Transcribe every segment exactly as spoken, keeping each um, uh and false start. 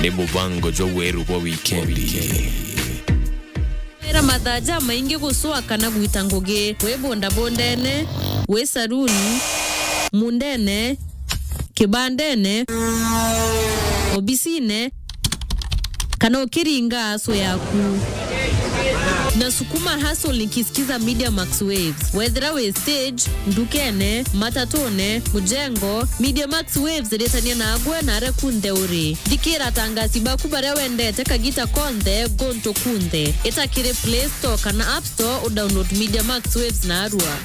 Ni mubango jwa weru bwa wikendi. Era mathaa jamaingi gucwa kana gwita ngugi, wi bondabondene, wi saruni, mundene, kibandene, obisine, kana ukiringa aso yaku. Na sukuma hustle nikisikiza Media Max Waves. Wethira wi stage, ndukene, matatune, mujengo, Media Max Waves iritania nagwe na aria kunthe uri. Thikira atangasi baku baria wendete kagita konthe, guntu kunthe. Ita kiri Play Store kana App Store, udownload Media Max Waves narua.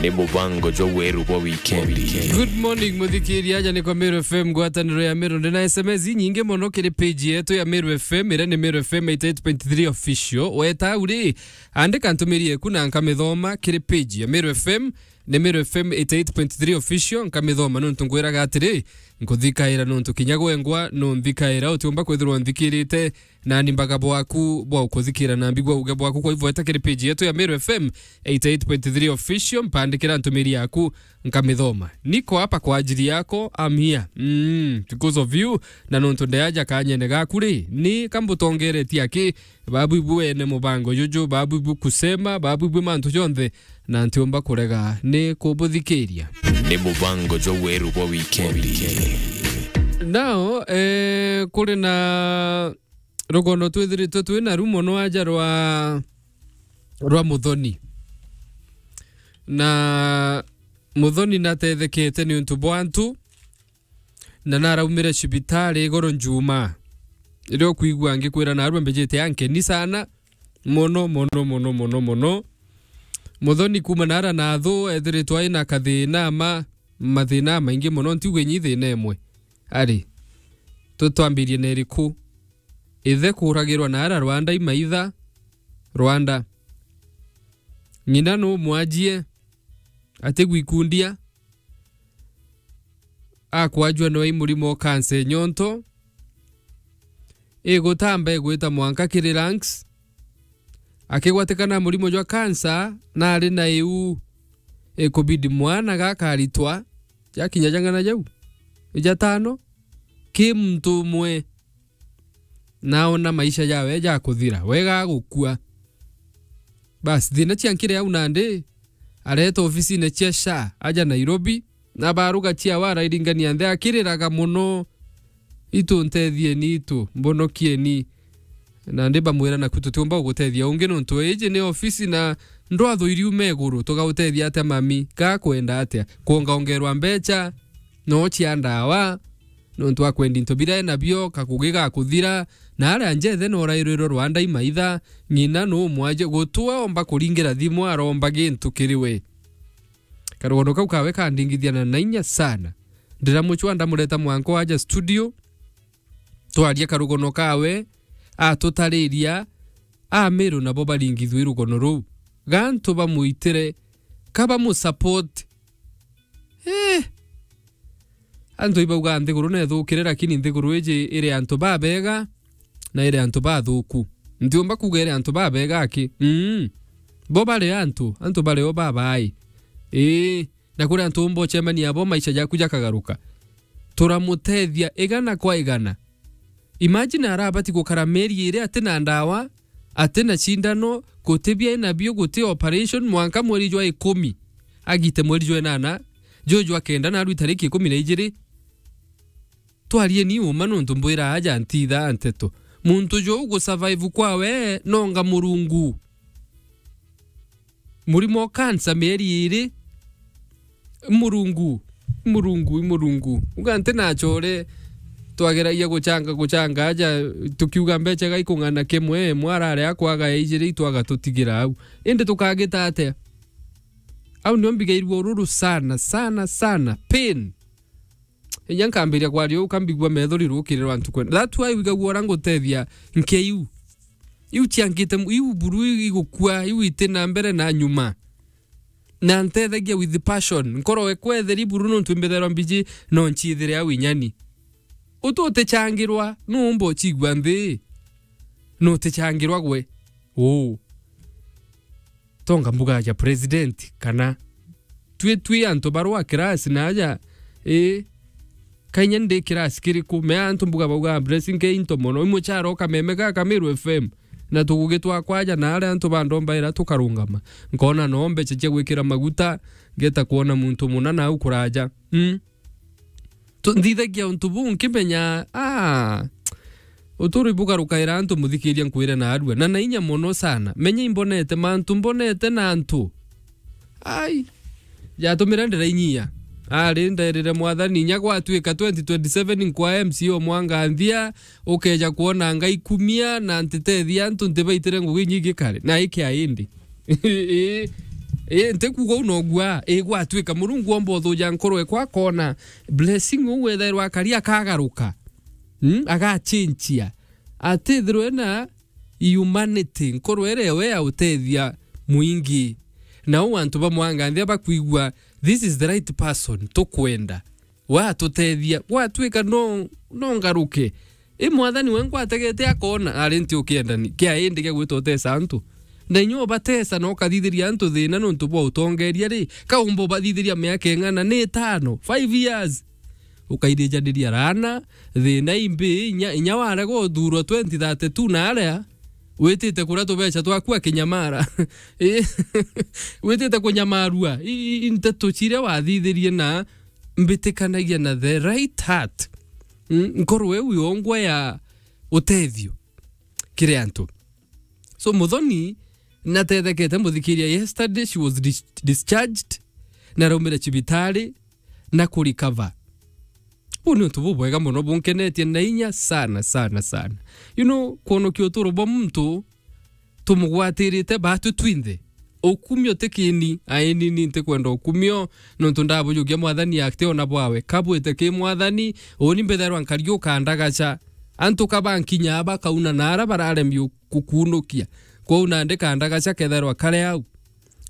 Ni mubango jwa weru bwa wikendi. Good morning, muthikiria, aja ni kwa Meru F M, ngwataniro ya Meru. Ndina S M S inyingi mono kiri page yetu ya Meru F M, iria ni Meru F M eighty eight point three official. Weta au ri, andika ntumiri eku na nkamithoma kiri page ya Meru F M, ni Meru F M eighty eight point three official, nkamithoma nontu ngwiraga atiri, nkuthikaira nontu kinya gwengwa nunthikaira, utiumba kwithirwa nthikirite nani mbaga bwaku bwa ukuthikira na mbigua uge bwaku. Kwa hivyo, eta kiri page yetu ya Meru F M eighty eight point three official, mpandikira ntumiri yaku, nkamithoma. Niko hapa kwa ajili yako, I'm here, mm, because of you. Na nontu ndeaja kanyene gaku ri, ni kambutongeretie aki, babu ibu ene mubango juju, babu ibu kusema, babu ibu mantu jonthe, na ntiumba kurega ni kubuthikiria. Ni mubango jwa weru bwa wikendi. Now, eh, kuri na rugono twithiritwe twi naru mono aja rwa, rwa Muthoni. Na Muthoni natethekete niuntu bwa antu, na naraumire cibitari igoro njuma. Riria ukwigua ngikwira narua mbijite ankeni sana, mono, mono, mono, mono, mono. Muthoni kuma nara nathu ethiritwe aina kathina ma, mathina maingi mono, ntiuge nyi thina imwe. Ari, tutwambirie na iriku? Ithe kuragirwa naara Rwanda imaitha, Rwanda. Ng'ina numwajie, atigwikundia, akwajua nwe i murimo o kansa e nyonto, igutamba igwita mwanka kiri lungs, akigwatikana murimo jwa kansa, na ari na iu, ikubidi mwana gakaritwa, jakinya jang'ana jau, ijatano, ki muntu umwe, naona maisha jawe jakuthira, wega agukua. Basi, thina ciankire au nandi, aretwa ofisine cia SHA, aja Nairobi, na baruga ciawe arairingania nthi akiriraga mono, "Itu, nthethieni itu, mbonokieni." Nandi bamwira, "Naku tutiumba gugutethia ungi, nontu iji ni ofisi na ndwathu iriuma iguru, tugautethia atia mami? Gakwenda atia? Kwongaongerwa mbecha, no cia ndawa?" Nontu akwendi into biria enabio, kakugi gakuthira, na aria njethe norairwirwe Rwanda imaitha, ng'ina numwaje gutwe omba kuringira thimu aromba gintu kiri we. Karugono kau kawe kandingithia na nainya sana. Ndiramucwa ndamureta mwanko aja studio, twaria karugono kawe, atutariria, Amiru nabo baringithwe irugono ruu. Gantu bamuitire, ka bamusupport. Eh! Antu ibauga nthiguru nethukire, lakini nthiguru iji iri antu babega na iri antu bathuku. Ntiumba kuga iri antu babega aki. Mm. Bo bari antu, antu bari o babai. Ii, na kuri antu umba ucemania abo maisha jaku jakagaruka. Turamutethia igana kwa igana. Imagine arabati gukara mieri iri ati na ndawa, ati na cindano, guti bia enabio, guti operation, mwanka mweri jwa ikumi, agite mweri jwa inana, juu jwa kenda, naru itariki ikumi na ijiri. Twarieni uma, nontu mbwira aja ntithaa nteto. Muntu juu gusurvive kwawe nonga Murungu. Murimo o kansa mieri iri. Murungu, Murungu, Murungu. Uga nti na achore, twageragia guchanga, guchanga aja, tukiuga mbecha ga ikung'ana kimwe, imwe arare akwaga ya ijiri, itwaga tutigira au. Indi tukagita atia? Au nio mbigairua ururu sana, sana, sana. Pain. Inya nkambiria kwaria uu, kambigua metho rirukirirwa ntuku. That's why wigagua ura ngutethia nke iu. Iu ciangite mu-, iu buru igukua, iu iti na mbere na nyuma. Na ntethagia with passion. Nkoro ekwa etheri buru nontu imbithairwa mbiji, no nchithire au inyani. Utu utichangirwa, nuumba uchigua nthi. Nutichangirwa gwe. Uu. Tonga mbuga ya president, kana twi, twi antu barwa class na aja, ii, Kainya ndi kirasi kiriku? Me antu mbuga bauga, "Blessing ke into mono. Imuchara o kameme gaka Meru F M." Na tugugitwa kwaja na aria antu bandombaira tukarungama. Nkona no mbecha cia gwikira maguta, ngeta kwona muntu muna nau kuraja. Mm. Tu-, nthithagia untu buu nkimenya, ah, uturo ibugarukaira antu muthikiria nkwire na arua. Na na inya mono sana. Menya imbonete mantu, mbonete na antu. Ai. Jatumira ndirainyia. Ari nderire Mwathani, inya gwatuika twenty twenty-seven nkwa M C A o mwanganthia, ukeja kwona ngai kumia na ntitethia antu ntibaitire ngugi inyingi kare. Na iki aindi. Ii, ii, ntikuuga uu nogua. Ii, gwatuika Murungu omba uthuja nkoro ekwa akona blessing uu wethairwa akari akagaruka. Mm, agachinchia. Atithirwe na humanity, nkoro iria we ya utethia mwingi. Na uu antu ba mwanganthia bakwigua, "This is the right person, tukwenda. We atutethia, gwatuika no, no ngaruke." I Mwathani we nkwategete akona, ari nti ukienda ni, kia indi gia gwita utesa antu. Na inya ubatesa na ukathithiria antu thina nontu bwa utongeria ri, kaumba ubathithiria miaka ing'ana? Ni itano, five years. Ukairijaniria rana, thina imbi, inya, inya warega uthurwa twenty thirty-two na aria, witite kuria tubecha twaku akinyamara. Ii, witite kunyamarua. I, i, i nteto ciria wathithirie na mbitikanagia na the right heart. Mm, nkoro iu yongwa ya utethio kiri antu. So, Muthoni natethekete, muthikiria, yesterday she was dis-, discharged, na araumire cibitari na kurecover. Buu ni untu bubwega mono, bunkenetie na inya sana, sana, sana. You know, kwonokia uturo bwa muntu tumugwatirite batwi twinthe. Ukumio ti kini, aini ni ntikwenda ukumio, nontu ndabujukia Mwathani ati ona bwawe kabwite ki Mwathani, uni mbithairwa nkari ukandagacha. Antu ka bankinya bakauna na ara bararemia gukunukia. Kwou nandi kandagacha kethairwa kare au.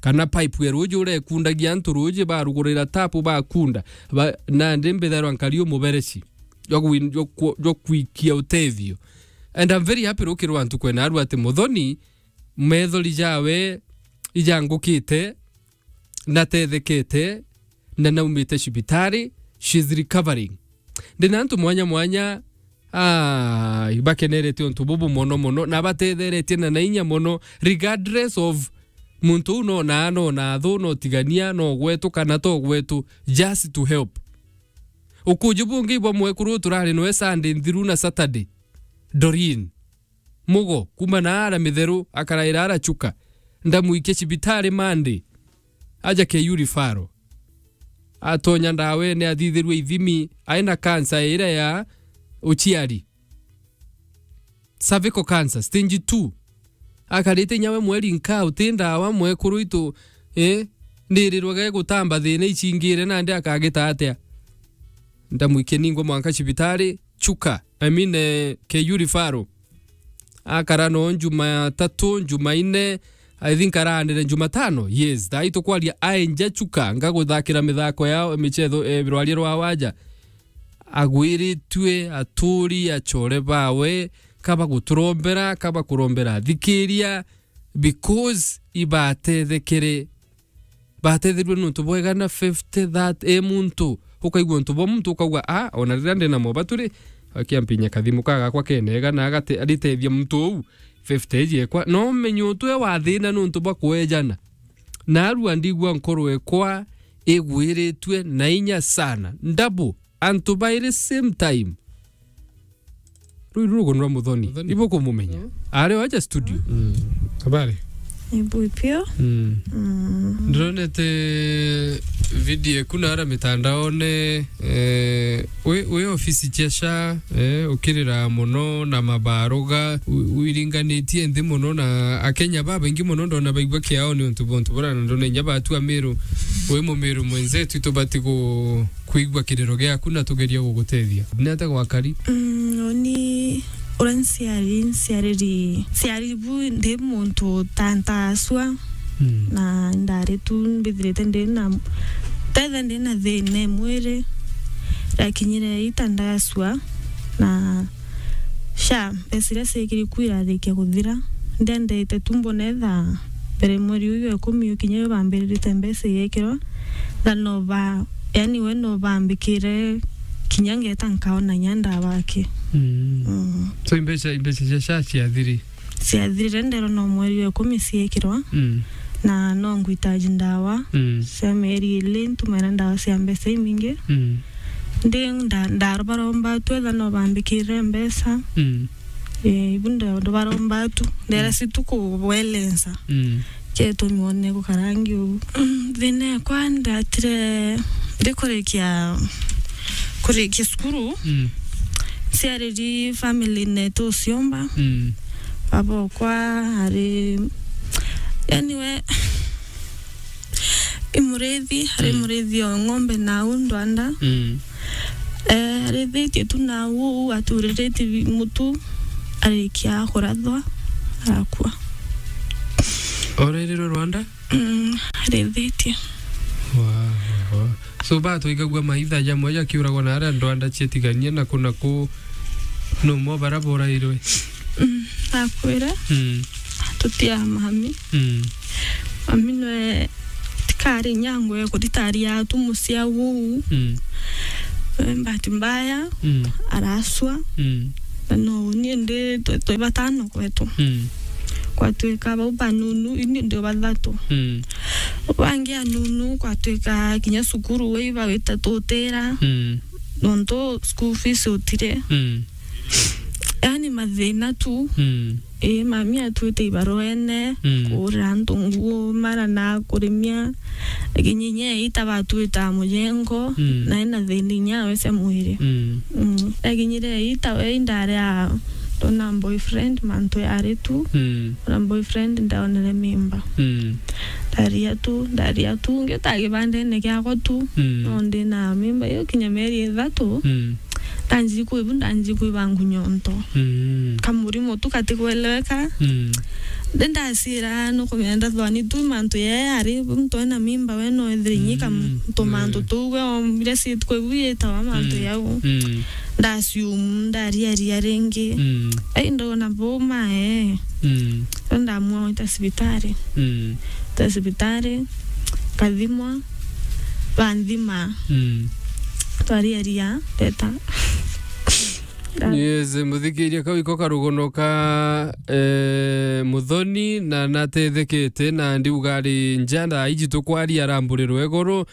Kana pipe ya ruuji urekundagia antu ruuji, barugurira tapu bakunda. Ba-, nandi mbithairwa nkari umubereci jwa gwi-, jwa ku-, jwa kwikia utethio. And I'm very happy rukirwa ntuku ena aru ati Muthoni, methori jawe ijangukite, natethekete, na naumite cibitari, she's recovering. Ndina antu mwanya mwanya, ah, bakenerete untu bubu mono mono, na batetheretie na na inya mono, regardless of muntu uu no na, no na thu, no tigania, no gwetu kana to gwetu, just to help. Ukuji bungi bwa mwekuru turari noe Sunday nthiru na Saturday, Doreen Mugo, kuma na ara Mitheru, akaraira ara Chuka. Ndamwikia cibitari Monday. Aja K U referral. Atonya ndawene, athithirue ithimi, aina cancer iria ya uciari. Cervical cancer, stage two. Akarite inya we mweri nka, uti ndawa mwekuru itu, eh? Ndirirwe ge gutamba thina icingire nandi akagita atia? Ndamwikia ningwa mwanka cibitari, Chuka. I mean, eh, K U referral. Akara no Jumatatu, Jumaine, I think araanire Jumatano. Yes, thaa itukwaria aenja Chuka, ngaguthakira mithako ya michetho, eh, rwaria rwa waja. Agwiritue, aturi, achore bawe, kaba guturombera, kaba kurombera athikiria, because ibatethekere. Batethirue nuntu bwega na fifty, that, e muntu, ukaigua untu bwa muntu, ukauga, "Ah, ona riria ndina mobatu ri, akia mpinya kathimu ka gakwa kenega na agate-, aritethia muntu uu, fifty iji ekwa." No menye utwe wa thina nuntu bwa kwejana. Narua ndigua nkoro ekwa igwiritue na inya sana. Ndabu, antu bairi same time. Rui ruru gunura Muthoni. Muthoni. Ibukumumenya. Mm. Ari o aja studio. Mm. Habari? Ibu ipio. Mm. Mm. Ndironete video eku na ara mitandaone, eh, wi, wi ofisi cia sha, eh, ukirira muno na mabaruga, wi-, wiringanitie nthi muno na Akenya babaingi muno ndona baigua kiao ni untu bwa untu bura na ndona inya batua Miru. Wi Mumiru mwenzetu, itubati gu-, kwigua kiriro giaku na tugeria gugutethia. Ni atia gwakari? Mm, uni uria nciari, nciariri, nciari bu ndi muntu ta ntasua. Mm. Na ndari tu mbithirite ndi na, tetha ndi na thina e mwiri. Ndakinyire ita ndasua na sha, mbeca iria ciekiri ku irarikia kuthira. Ndiendete tu mbone tha mbere mweri uyu wa ikumi ukinya, yo bambiririte mbeca igekirwa, tha no ba, yani, we no bambikire kinya ngeta nkaona nya ndawa aki. Mm. Mm. So, imbeca, imbeca cia SHA ciathiri? Ciathirire, nderwa no mweri wa ikumi ciikirwa. Mm. Na no ngwitaji ndawa. Mm. Cia mieri ili, ntumira ndawa cia mbeca imingi. Mm. Ndi nda-, ndarobaromba tu etha no bambikirire mbeca. Mm. Eh, ibu ndo-, ndobaromba tu. Ndera Mm. si tu kubwelensa. Mm. Kietumi wone gukarangi uu. Mm, thina ekwa ndatire ndikurikia, kurikia cukuru. Mm. Ciariri family netu uciomba. Mm. Baba okwa ari, yani we, i murithi, ari Mm. murithi o ng'ombe na au ndwanda. Mm. Eh, arithitie tu na au, aturiritie bi-, mutu, arikia kurathwa, arakua. Orerirwe Rwanda? Mm, arithitie. Wa, wa, wa. So, batwigagua maitha jamwe jakiuragwa na aria ndwanda cietiganie na ku na ku, no mo bara borairwe? Mm, akwire. Mm. Tutia mami. Mm. Mami nwe tikari nyangwe kuritaria tu mucia uu. Mm. Eh, bahati mbaya, Mm. araswa. Mm. Na no uni ndi twe, twe batano kwetu. Mm. Kwatwika bau banunu, ini ndi bathatu. Mm. Bangi anunu, kwatwika kinya cukuru we ibawita tutira. Mm. Nontu school fees utire. Mm. Yani mathina tu. Mm. Ii, mami atwite ibaruene, Mm. kuurira antu nguo, mara na kurimia. Lakini inya ita batwita mujengo, Mm. na ina thina inya we cia mwiri. Mm. Mm. Lakini ri ita we indari a ndona boyfriend, mantu yari tu. Mm. Na boyfriend ndaonere mimba. Mm. Ndaria tu, ndaria tu, ngiuta kibandene kiakwa tu. Mm. No ndi na mimba iyo kinya mieri ithatu. Mm. Ndanji kwibu, ndanji kwiba ngunyo nto. Mm. Kamurimo tu katikweleweka. Mm. Ndi ndacira nukumenya ndathwani tu mantu yee ari, muntu ena mimba we no ethire inyika Mm. ntu mantu Mm. tuu we ombire sit kwibu yitawa mantu Mm. yau. Mm. Ndasiumu, ndariaria ringi. Mm. Ai, ndona buma, eh. Mm. Ndo ndamua gwita cibitari. Mm. Gwita cibitari, nkathimwa, banthima. Mm. Twariaria, ndeta. Yes, muthikiria, kau iko karugono ka, eh, Muthoni, na natethekete, na ndiuga ari njara iji tukwaria aramburirwe iguru.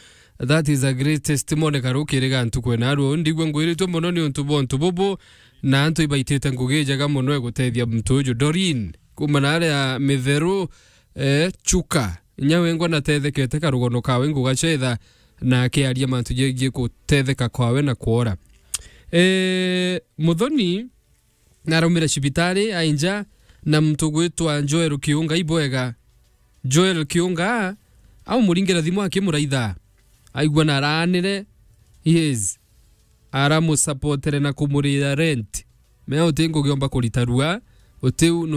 That is a great testimony karukiriga ntuku ena ruu. Ndigua ngwiritwe mono ni untu bwa untu bubu, na antu ibaitite ngugi njega mono ya gutethia muntu uju. Doreen, kuma na aria Mitheru, eh, Chuka. Inya wengwa natethekete karugono kawe nguga cetha na akiaria mantu jegie gutetheka kwawe na kwora. Eh, Muthoni, naraumire cibitari ainja na muntu gwitwa Joel Kiunga ibwega. Joel Kiunga aumuringira thimu akimuraitha. Aigua na araanire, yes. Aramusapotere na kumurira rent. Mea uti ngugi omba kurita rua, utiu